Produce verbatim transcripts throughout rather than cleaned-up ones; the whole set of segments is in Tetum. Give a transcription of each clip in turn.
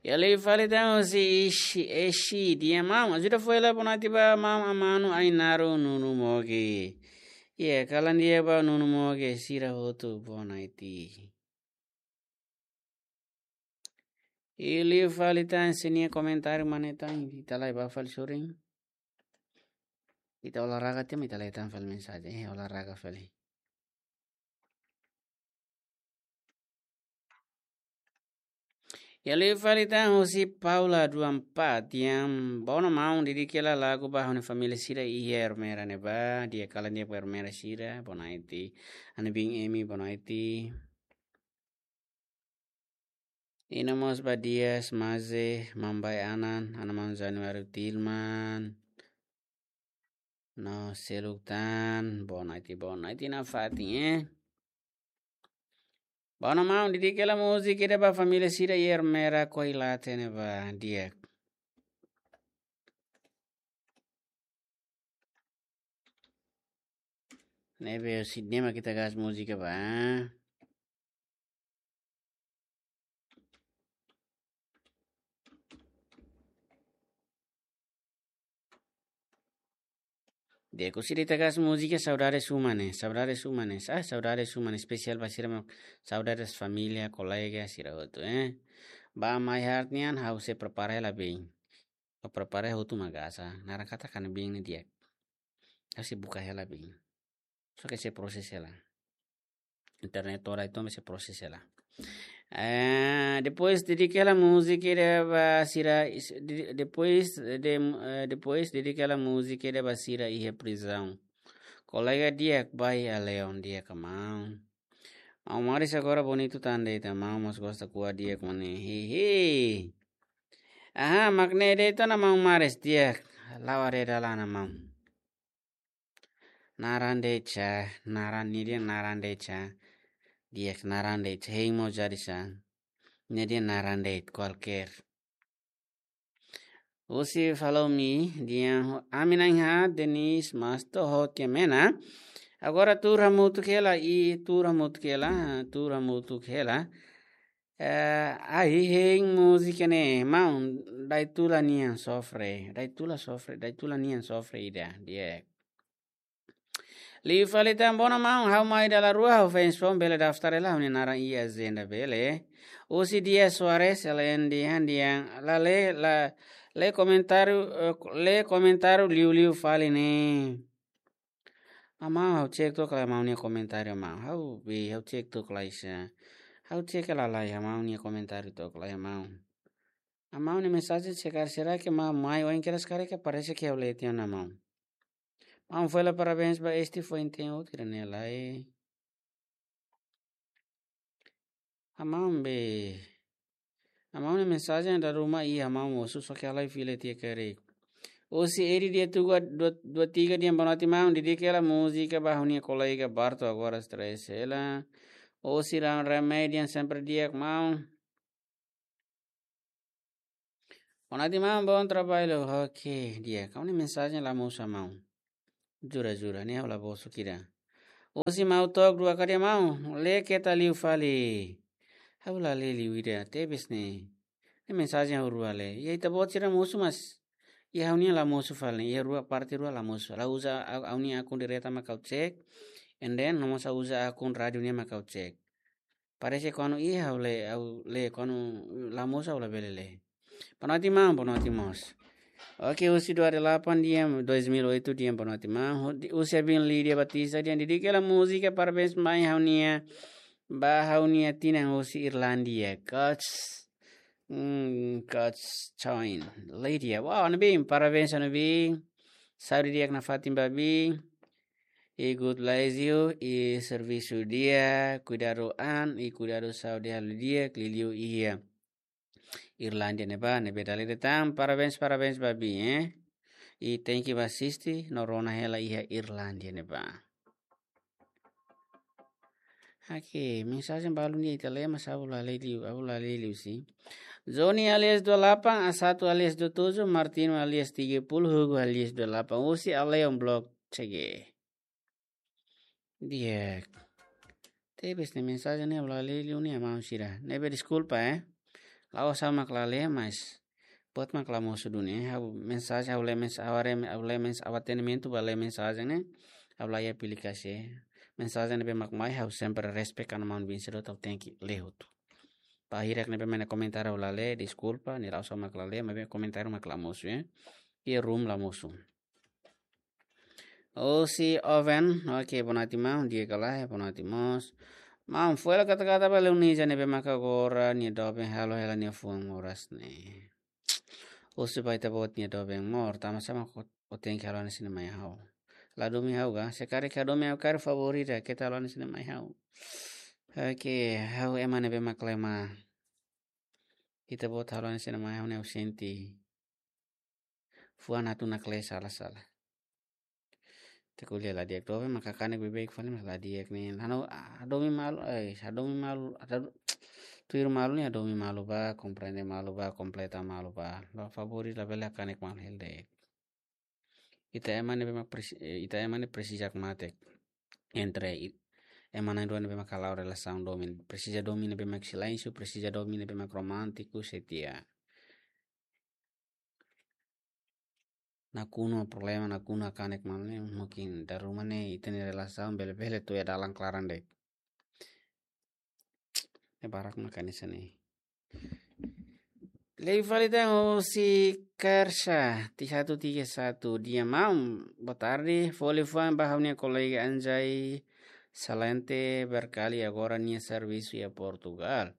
Iha liu fali tan husi Ishi, Eshi, di'ak maun. Ajuda foin hela bonaiti ba maun Amanu Ainaru Nunu Moge. Iha kalan di'ak ba Nunu Moge sira hotu bonaiti. Iha liu fali tan sira-nia komentáriu mane tan, ita lai ba fali sorin. Ita olahraga tiha mak ita lai tan fali mensajen, eh, olahraga fali. Iha liu fali tan husi Paula dua empat, di'ak, bonaiti maun, dedika hela lagu ba ha'u-nia família sira iha Ermera ne'ebá, di'ak, kalan di'ak ba Ermera sira, bonaiti, ha'u-nia biin Emi, bonaiti. Iha mós ba Dias, Maze, Mambai Anan, Ana Maun Januário Tilman, no seluk tan, bonaiti, bonaiti nafatin, eh. Bonaiti maun, dedika hela múzika ida ba família sira iha Ermera Koilate ne'ebá, di'ak. Ne'ebé husi ne'e mak ita gas múzika ba. Di'ak, husi ita gas múzika Saudades Uma ne'e, Saudades Uma ne'e, ah, Saudades Uma ne'e, espesiál ba sira mak, saudades família, kolega, sira hotu, eh. Ba My Heart nian, ha'u sei prepara hela biin. Ha'u prepara hotu mak gas, ah, naran katak ha'u-nia biin ne'e di'ak. Ha'u sei buka hela biin. Só ke sei proses hela. Internet to'o rai to'o sei proses hela. Eh, depois dedika hela múzika ida ba sira is-, de-, depois de, eh, depois dedika hela múzika ida ba sira iha prizaun. Kolega di'ak, Bai Aleon, di'ak maun. Maun Maris agora bonitu tan de'it, maun mós gosta kuat di'ak mane. Hehe. Aha, mak ne'e de'it ona maun Maris, di'ak. La'o haree dalan ona maun. Naran de'it sa, naran ne'e dehan naran de'it sa. Di'ak, naran de'it sa, hein mós jadi sa. Ne'e dehan naran de'it kualkér. Husi Follow Me, dehan ami na'in-haat Denise Masto ho Kemena. Agora tuur hamutuk hela, i tuur hamutuk hela, tuur hamutuk hela. Eh, ai hein múzika ne'e, maun, Daitula nian sofre, Daitula sofre, Daitula nian sofre ida, di'ak. Liu fali tan bonaiti maun, ha'u mai dala rua, ha'u fans foun bele daftar hela, ha'u-nia naran iha ajenda bele. Husi Dia Soares, L N D, han dehan, la lee, la lee komentáriu, eh, lee komentáriu liuliu fali ne'e. Amau, ha'u cek took lai amau nia komentáriu amau. Ha'u be, ha'u cek took lai sa. Ha'u cek hela lai amau nia komentáriu took lai amau. Amau nia mensajen sekar será ke ma mai oin keras kare ke parese ke ha'u lee tiha ona amau. Maun foin hela parabéns ba este foin-teen hotu kira ne'e lai. Amau be. Amau nia mensajen dala ruma iha amau mosu só ke ha'u la fila tiha karik. Husi Edi dia tuga dua, dua tiga dehan bonaiti maun, dedika hela múzika ba ha'u-nia kolega Barto agora stress hela. Husi Ram Remedian sempre di'ak maun. Bonaiti maun, bom trabalho. Oke, di'ak. Ha'u-nia mensajen la mosu amau. Jura, jura, ne'e ha'u la mosu kira. Husi Mau Tok dua kali amau, lee keta liu fali. Ha'u la lee liu ida, tebes ne'e. Ne'e mensajen ha'u rua lee. Iha ita-boot sira mosu mas. Iha ha'u-nia la mosu fali, iha rua parte rua la mosu. Ha'u uza ha'u, ha'u-nia akun direta mak ha'u cek. And then, no mós ha'u uza akun rádiu nian mak ha'u cek. Parese kuandu iha ha'u lee, ha'u lee kuandu la mosu ha'u labele lee. Bonaiti maun, bonaiti mós. Oke, husi dua delapan dehan, dois mil oito dehan bonaiti maun. Hu-, di-, husi Abin Lídia Batista dehan, dedika hela múzika parabéns mai ha'u-nia, ba ha'u-nia tinan husi Irlandia. Coach, hmm, Coach Choin. Lídia, wow, Ana Bin, parabéns Ana Bin. Saúde di'ak nafatin ba Bin. I God bless you, i servisu di'ak, kuidadu an, i kuidadu saúde halo di'ak, liuliu iha Irlandia ne'ebá, ne'ebé dala ida tan, parabéns, parabéns ba Bin, eh. I thank you ba asiste, no rona hela iha Irlandia ne'ebá. Oke, mensajen balu ne'e ita lee mas ha'u la lee liu, ha'u la lee liu sin. Johnny alias dua delapan, A satu alias dua tujuh, Martino alias tiga puluh, Hugo alias dua delapan, husi Aleon Blog C G. Di'ak. Tebes ne'e mensajen ne'e ha'u la lee liu ne'e amau sira. Ne'ebé deskulpa, eh. La'ós ha'u mak la lee, mas buat mak la mosu duni. Ha'u mensajen, ha'u lee mens-, ha'u haree, ha'u lee mens-, ha'u atendimentu ba lee mensajen ne'e, ha'u la iha aplikasi. Mensajen ne'ebé mak mai, ha'u sempre respect ona maun-bin sira hotu, ha'u tenke lee hotu. Ba hirak ne'ebé mak iha komentáriu ha'u la lee, deskulpa, ne'e la'ós ha'u mak la lee, maibé komentáriu mak la mosu, eh. Iha room la mosu. Husi Oven, oke, boa noite maun, di'ak ka lae, boa noite mós. Maun, fó hela katak-katak ba Leonisa ne'ebé maka agora nia doben halo hela nia fuan moras ne'e. Husu ba ita-boot nia doben, amór, tanba sá mak ó, ó tenke halo hanesan ne'e mai ha'u? La domin ha'u ka? Se karik hadomi ha'u karik favór ida, keta halo hanesan ne'e mai ha'u. Oke, ha'u ema ne'ebé mak lema. Ita-boot halo hanesan ne'e mai ha'u ne'e ha'u sente fuan atu nakle sala-sala. Ita ko'alia la di'ak, doben maka kanek beibeik fali mas la di'ak ne'e. Ha'u, ah, hadomi malu, eh, hadomi malu, ada tuir malu ne'e hadomi malu ba, komprende malu ba, kompleta malu ba. Ba favór ida labele kanek malu hela de'it. Ita ema ne'ebé mak presi-, eh, ita ema ne'e presiza kmatek. Entre i-, ema na'in-rua ne'ebé mak hala'o relasaun domin. Presiza domin ne'ebé mak silénsiu, presiza domin ne'ebé mak romántiku, setia. Nakonu problema, nakonu kanek malu ne'e, mungkin dala ruma ne'e ita-nia relasaun bele-bele tuir dalan klaran de'it. Ne'e barak mak hanesan ne'e. Liu fali tan husi Kersa, ti satu tiga satu, di'ak maun, boa tarde, fó liafuan ba ha'u-nia kolega Anjay Salente, barkali agora nia servisu iha Portugal.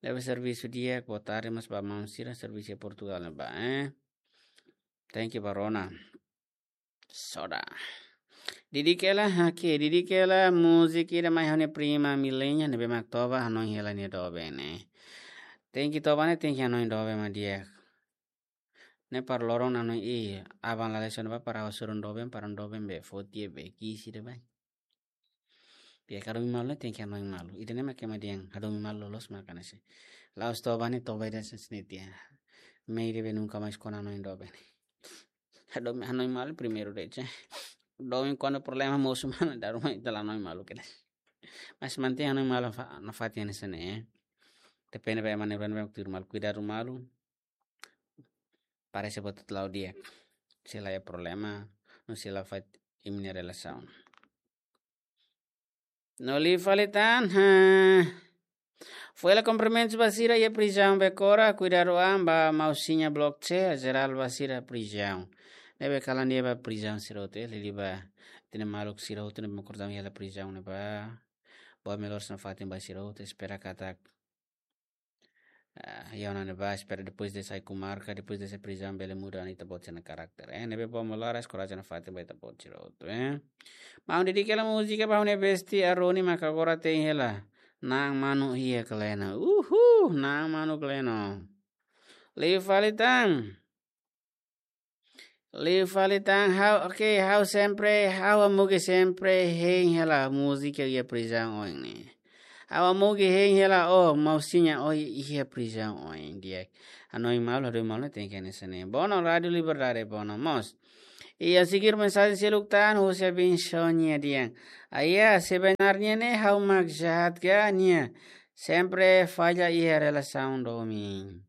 Ne'ebé servisu di'ak, boa tarde mós ba maun sira servisu iha Portugal ne'ebá, eh. Thank you, ba rona. Soda. Didik hela, oke, didik hela múzika ida mai ha'u-nia prima Milenia, ne'ebé mak toba hanoin hela nia doben ne'e. Tenke toba ne'e, tenke hanoin doben mak di'ak. Ne'e para loron hanoin, i, aban la lees ona ba para hasoru doben, para doben be foti be kisi de'it ba. Di'ak, hadomi malu ne'e tenke hanoin malu. Ida-ne'e mak ema dehan hadomi malu loloos mak hanesan ne'e. La'ós toba ne'e, toba ida hanesan ne'e tiha. Mehi ida be nunka mais kona hanoin doben. Hadomi, hanoin malu primeiru de'it. Domin kuandu problema mosu mai, dala ruma ita la hanoin malu kedas. Mas mantein hanoin malu fa-, nafatin hanesan ne'e. Depende ba ema na'in-rua ne'ebé mak tuir malu, kuidadu malu. Parese buat atu la'o di'ak. Se la iha problema, no se la fa'an imi-nia relasaun. No liu fali tan, ha. Fó hela kumprimentus ba sira iha prizaun Becora, kuidadu an ba mausiña Block C, jerál ba sira prizaun. Ne'ebé kalan di'ak ba prizaun sira hotu, eh, liuliu ba ita-nia maluk sira hotu ne'ebé mak kortaun iha prizaun ne'ebá. Boa melhoras nafatin ba sira hotu, espera katak ah, iha ona ne'ebá, espera depois de sai komarka, depois de sai prizaun, bele muda ona ita-boot sira-nia karakter. Eh, ne'ebé boa melhoras, korajen nafatin ba ita-boot sira hotu, eh. Maun, didik hela múzika ba ha'u-nia besti Aroni mak agora te'in hela. Na'an manu iha Kleno. Uhu, na'an manu Kleno. Liu fali tan. Liu fali tan ha'u, oke, ha'u sempre, ha'u Amugi sempre hein hela múzika iha prizaun oin ne'e. Ha'u Amugi hein hela, oh, mausiña, oh, iha prizaun oin, di'ak. Hanoin malu, hadomi malu, tenke hanesan ne'e. Bono, Rádio Liberdade, bono, mós. Iha seguir mensajen seluk tan, husi Abin Sonia dehan. Ayah, sebenarnya ne'e ha'u mak jahat ka nia. Sempre falla iha relasaun domin.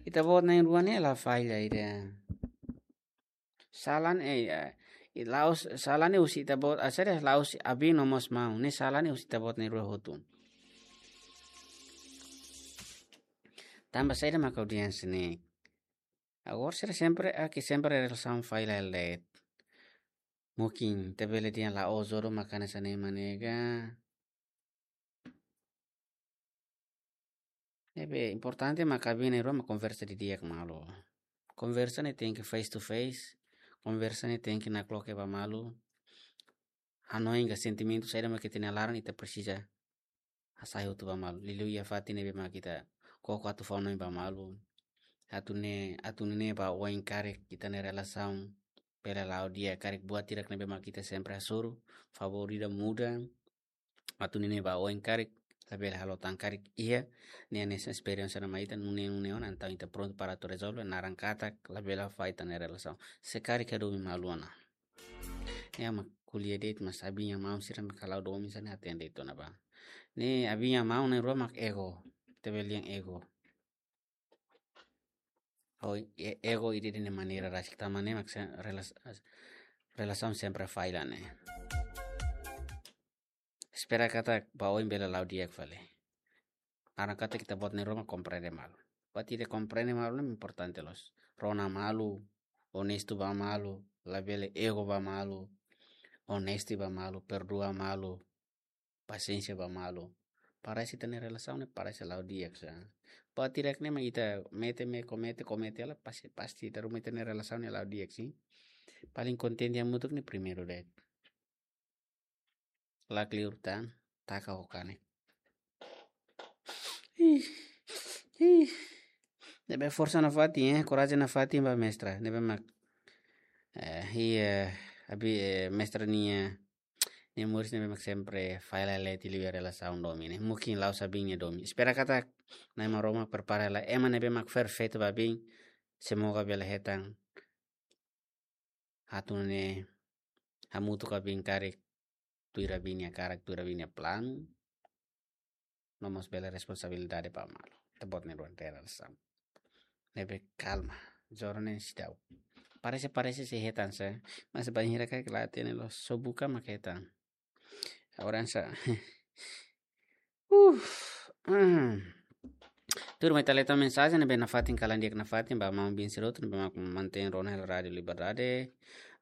Ita-boot na'in-rua ne'e la falla ida. Sala ne'e, eh, i la'ós, sala ne'e husi ita-boot, ah, sede la'ós Abin no mós maun. Ne'e sala ne'e husi ita-boot na'in-rua hotu. Tanba saida mak ha'u dehan hanesan ne'e? Agora sira sempre, ah, ke sempre relasaun falla hela de'it. Mungkin ita bele dehan la'ós jodoh mak hanesan ne'e mak ne'e ka. Ne'ebé importante mak Abin na'in-rua mak konversa didi'ak malu. Konversa ne'e tenke face to face. Konversa ne'e tenke nakloke ba malu. Hanoin ka sentimentu saida mak iha ita-nia laran ita presiza hasai hotu ba malu. Liuliu iha fatin ne'ebé mak ita koko atu fó hanoin ba malu. Atu nune'e, atu nune'e ba oin karik ita-nia relasaun bele la'o di'ak, karik buat hirak ne'ebé mak ita sempre hasoru, favór ida muda. Atu nune'e ba oin karik, labele halo tan karik iha, ne'e hanesan esperiénsia ne'ebé mak ita nune'e, nune'e ona, entaun ita prontu para atu rezolve, naran katak labele falla ita-nia relasaun. Se karik hadomi malu ona. Ne'e mak ko'alia de'it, mas Abin nia maun sira mak hala'o domin hanesan ne'e, hatene de'it ona ba. Ne'e Abin nia maun na'in-rua mak ego, ita bele dehan ego. Ou e-, ego ida-ne'e nia maneira rasik, tanba ne'e mak se-, relas-, relasaun sempre falla ne'e. Espera katak ba oin bele la'o di'ak fali. Laran katak ita-boot na'in-rua mak komprende malu. Buat ida komprende malu ne'e importante loos. Rona malu, onestu ba malu, labele ego ba malu, onesti ba malu, perdua malu, pasiénsia ba malu. Parese ita-nia relasaun ne'e parese la'o di'ak sa. Buat ida-ne'e mak ita mete, mete, komete, komete hela, pasti, pasti ita ruma ita-nia relasaun ne'e la'o di'ak sin. Paling kontente hamutuk ne'e primeiru de'it. Lakleur tan, taka ho kanek. Ih, ih. Ne'ebé forsa nafatin, eh, korajen nafatin ba mestra. Ne'ebé mak, eh, iha, abi, eh, mestra nia, nia moris ne'ebé mak sempre falla leti liu iha relasaun domin ne'e. Mungkin la'ós abin nia domin. Espera katak Na'i Maromak prepara hela ema ne'ebé mak perfeitu ba abin. Semoga bele hetan atu nune'e hamutuk ho abin karik tuir abin nia hakarak, tuir abin nia planu. No mós bele responsabilidade ba malu. Ita-boot na'in-rua iha relasaun ne'ebé kalma. Joran ne'e seidauk. Parese, parese sei hetan sa. Mas bainhira karik la hatene loos, só buka mak hetan. Agora sa. Uh, hmm. Tuirmai ita lee tan mensajen ne'ebé nafatin, kalan di'ak nafatin ba maun Bin Siroto ne'ebé mak mantein rona hela Rádiu Liberdade.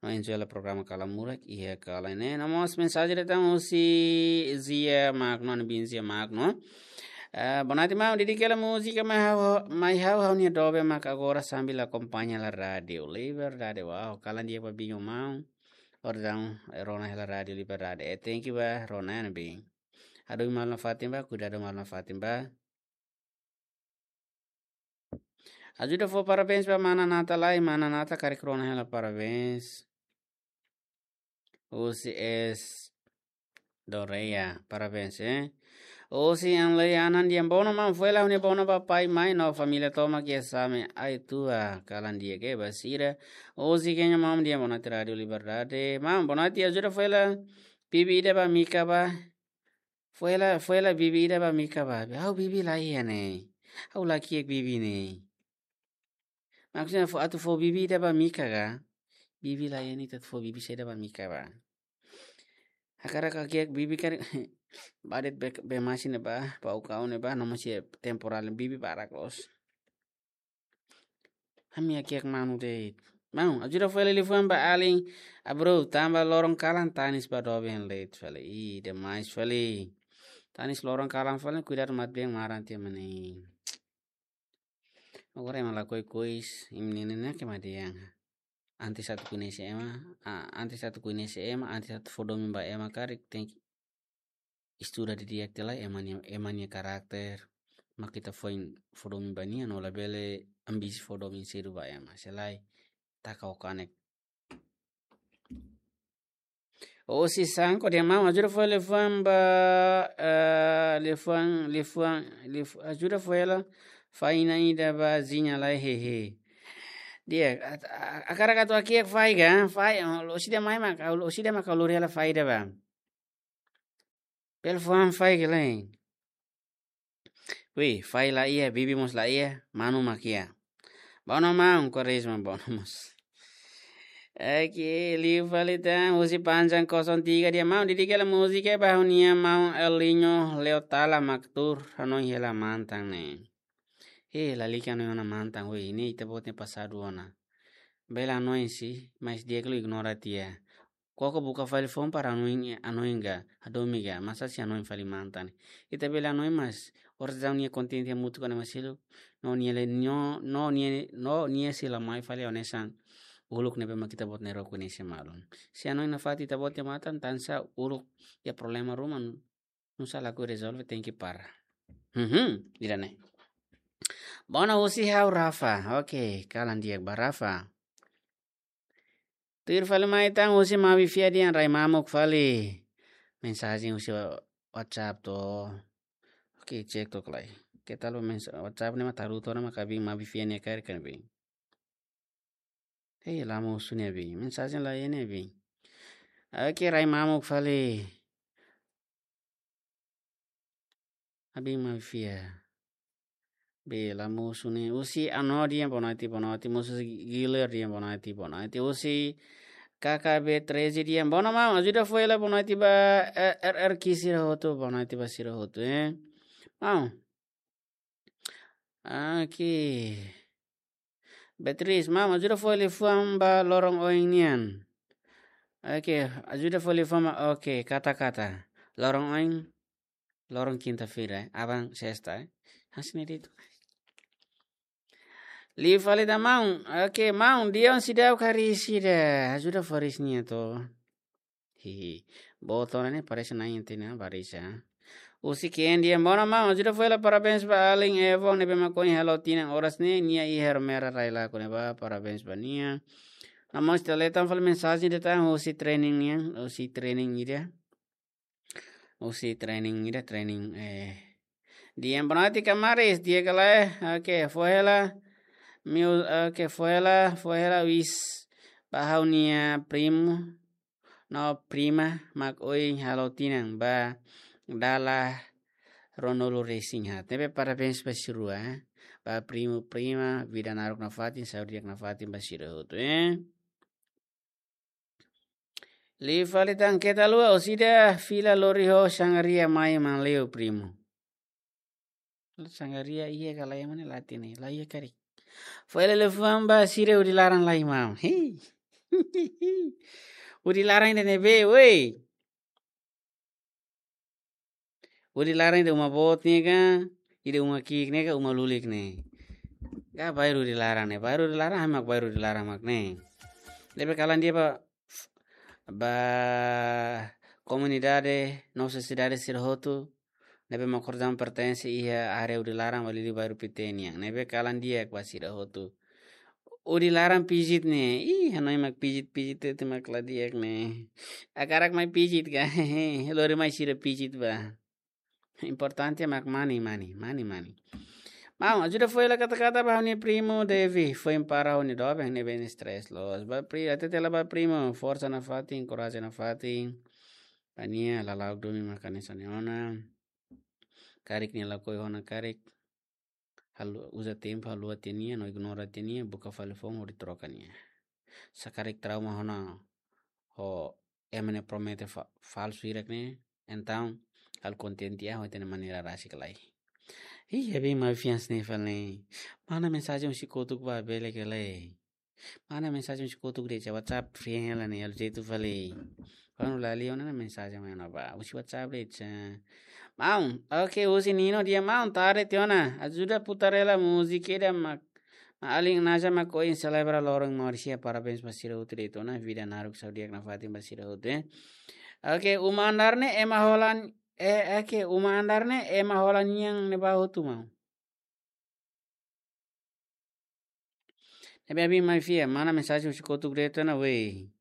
No enjoy hela programa Kalan Murak iha kalan ne'e. No mós mensajen datang husi Zia Magno, no Bin Zia Magno. Eh, boa noite, maun. Dedika hela múzika Mai Ha'u, Mai Ha'u Ha'u-nia Doben mak agora sambil akompaña hela Rádiu Liberdade. Wow, kalan di'ak ba Bin ho maun. Orsida, eh, rona hela Rádiu Liberdade. Eh, thank you ba, rona ne'e Bin. Hadomi malu nafatin ba, kuidadu malu nafatin ba. Ajuda fó parabéns ba mana Nata lai, mana Nata karik rona hela, parabéns. Husi S Doreia, parabéns, eh. Husi Anlei Anan dehan bono maun, fó hela ha'u-nia bono ba pai, mai no família tomak iha Same Aituba, kalan di'ak ba sira. Husi Kenya maun dehan boa noite Rádiu Liberdade. Maun, boa noite, ajuda fó hela bibi ida ba Mika ba. Fó hela, fó hela bibi ida ba Mika ba. Ha'u bibi la iha ne'e. Ha'u la ki'ik bibi ne'e. Maksudnya fó, atu fó bibi ida ba Mika ka? Bibi la iha ne'e, atu fó bibi saida ba Mika ba. Hakarak ha'u ki'ik bibi karik. Ba de'it be, be masin ne'e ba, ba ukau ne'e ba, no mós iha temporál bibi barak loos. Ami hakiak manu de'it. Maun, ajuda fó hela liafuan ba alin Abreu, tanba loron kalan tanis ba doben de'it fali. Ih, demais fali. Tanis loron kalan fali, kuidadu matebian maran tiha mak ne'e. Agora ema lakohi kois, imi-nia nenek ema dehan. Antes atu koñese ema, ah, antes atu koñese ema, antes atu fó domin ba ema karik, tenke estuda didi'ak tiha lai ema nia, ema nia karakter, mak ita foin fó domin ba nia, no labele ambisi fó domin sedu ba ema. Se lae, taka ho kanek. Husi Sanko dehan maun, ajuda fó hela liafuan ba, eh, liafuan, liafuan, liaf-, ajuda fó hela faina ida ba Zinha lai, hehe. Di'ak, a, a, hakarak atu hakiak fai ka, fai, oh, loos ida mai mak, loos ida mak ha'u lori hela fai ida ba. Bele fó han fai ka lae. Wi, fai la iha, bibi mós la iha, manu mak iha. Bono maun, korisma bono mós. Oke, liu fali tan, husi Panjang kosong tiga dehan maun, dedika hela múzika ba ha'u-nia maun Elinho Leotala mak tuur hanoin hela mantan ne'e. He, lalika hanoin ona mantan, wi, ne'e ita-boot nia pasadu ona. Bele hanoin si, mas di'ak liu ignora tiha. Koko buka fali foun para hanoin, hanoin ka, hadomi ka, masa sei hanoin fali mantan. Ita bele hanoin mas, orsida nia kontente hamutuk ho ema seluk, no nia le, no, no nia, no nia sei la mai fali hanesan uluk ne'ebé mak ita-boot na'in-rua koñese malu. Se hanoin nafatin ita-boot nia matan, tansá uluk iha problema ruma, nusá lakohi rezolve, tenke para. Mhm, ida-ne'e. Bono husi ha'u Rafa. Oke, kalan di'ak ba Rafa. Tuir fali mai tan husi Mabi Fia dehan rai mamuk fali. Mensajen husi wa-, WhatsApp to. Oke, cek took lai. Ke tal mensa-, WhatsApp ne'e mak taruto ne'e mak abin Mabi Fia nia kaer kan bin. Hei, la mosu ne'e abin. Mensajen la iha ne'e abin. Oke, rai mamuk fali. Abin Mabi Fia. Bela mosu ne'e. Husi Ano dehan boa noite, boa noite. Mosu Giler dehan boa noite, boa noite. Husi K K B treze dehan boa noite, maun. Ajuda fó hela boa noite ba, eh, R R Q sira hotu, boa noite ba sira hotu, eh. Maun. Oke. Beatriz, maun, ajuda fó liafuan ba loron oin nian. Oke, ajuda fó liafuan ba, oke, kata-kata. Loron oin, loron kinta-feira, eh. Aban sesta, eh. Hanesan ne'e de'it. Liu fali tan maun. Oke, maun, Dion seidauk hariis ida. Ajuda fó hariis nia to. Hihi. Boot ona ne'e parese na'in tiha ona, parese. Husi Ken dehan boa noite maun, ajuda fó hela parabéns ba alin Evo ne'ebé mak ohin halo tinan oras ne'e, nia iha Ermera Railaco ne'ebá, parabéns ba nia. No mós ita lee tan fali mensajen ida tan husi training nian, husi training ida. Husi training ida, training, eh, dehan boa noite Kamaris, di'ak ka lae, oke, fó hela, miu, oke, fó hela, fó hela wish ba ha'u-nia primu no prima mak ohin halo tinan ba dala ruanulu-resin-haat. Ne'ebé parabéns ba sira rua, eh. Ba primu, prima, vida naruk nafatin, saúde di'ak nafatin ba sira hotu, eh. Liu fali tan keta haluha, orsida fila lori ho sangaria mai manleu primu. Sangaria iha ka lae, ema ne'e la hatene, la iha karik. Fó hela liafuan ba sira hudi laran lai maun. Hei. Hudi laran ida ne'ebé, woi. Hudi laran ida uma boot ne'e ka, ida uma ki'ik ne'e ka, uma lulik ne'e. Ka bairru hudi laran ne'e, bairru hudi laran, ami mak bairru hudi laran mak ne'e. Ne'ebé kalan dehan ba, ba komunidade, no sosiedade sira hotu, ne'ebé mak kordon pertense iha área hudi laran, ba liuliu bairru Pité nian. Ne'ebé kalan di'ak ba sira hotu. Hudi laran pijit ne'e. Ih, hanoin mak pijit-pijit ne'e mak la di'ak ne'e. Hakarak mai pijit ka. Lori mai sira pijit ba. Importante mak mani, mani, mani, mani. Maun, ajuda fó hela kata-kata ba ha'u-nia primu Devi, foin para ha'u-nia doben ne'ebé stress loos. Ba pri, hatete hela ba primu, forsa nafatin, korajen nafatin. Ba nia, lala'ok domin mak hanesan ne'e ona. Karik nia lakohi ona karik. Halu-, uza tempu haluha tiha nia, no ignora tiha nia, buka fali foun hodi troka nia. Se karik trauma ona ho ema ne'e promete fa-, falsu hirak ne'e, entaun halo kontente iha ho ita-nia maneira rasik lai. Ih, abi mai fians ne'e fali. Mana mensajen husi kotuk ba bele ka lae. Mana mensajen husi kotuk de'it, WhatsApp fria hela ne'e, halo jeitu fali. Kuandu la lee ona mensajen mai ona ba husi WhatsApp de'it. Maun, oke, husi Nino dehan maun, tarde tiha ona. Ajuda putar hela múzika ida mak, mak alin Naja mak ohin selebra loron moris iha, parabéns ba sira hotu de'it ona, vida naruk saúde di'ak nafatin ba sira hotu, eh. Oke, uma andar ne'e ema hola, eh, oke, uma andar ne'e ema hola nian ne'ebá hotu maun. Ne'ebé abi mai fiar, mana mensajen husi kotuk de'it ona, wei.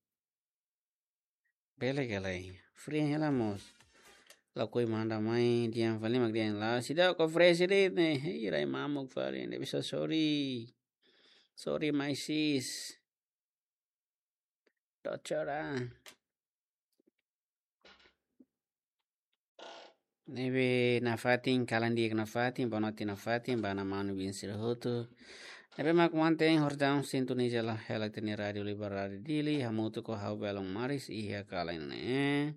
Bele ka lae. Fria hela mós. Lakohi manda mai, dehan fali mak dehan la'o. Seidauk fresh de'it ne'e. Hei, rai mamuk fali, ne'e bisa sorry. Sorry, my sis. Doctora. Ne'ebé nafatin, kalan di'ak nafatin, boa noite nafatin ba mana manu bin sira hotu. Ne'ebé mak mantein horjaun sintoniza hela ita-nia Rádio Liberdade Dili, hamutuk ho ha'u Belon Maris, iha kalan ne'e.